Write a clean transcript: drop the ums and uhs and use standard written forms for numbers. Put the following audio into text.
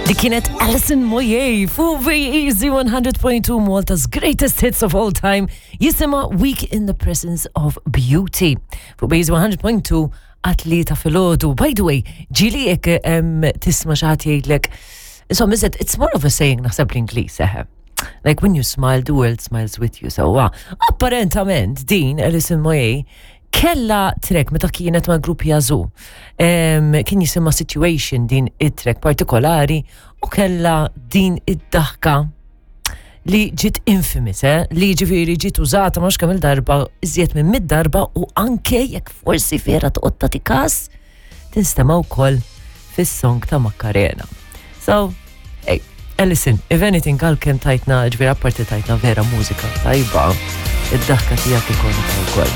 Li kienet Alison Moyet fuq Easy 100.2, Malta's greatest hits of all time, jisimha Week in the Presence of Beauty. Fuq Easy 100.2 għat-3 filgħodu. By the way, ġieli jekk tisma' xi ħadd jgħidlek, insomma, it's more of a saying naħseb l-Ingliż, eħe. Like when you smile, the world smiles with you. So, apparentament din Alison Moyet kella track meta kienet ma' grupp Yazoo. Kien jisimha Situation din it-track partikolari u kella din id-daħka li ġiet infamous, eh? Li ġifieri ġiet użata mhux kemm il-darba, iżjed minn 100 darba u anke jekk forsi vera toqgħod tagħti kas, tinstema' wkoll fis-song ta' Macarena. So, hey, Alison, if anything, għalkemm tajtna, ġifieri apparti tajtna vera mużika tajba, id-daħka tiegħek ikonika wkoll.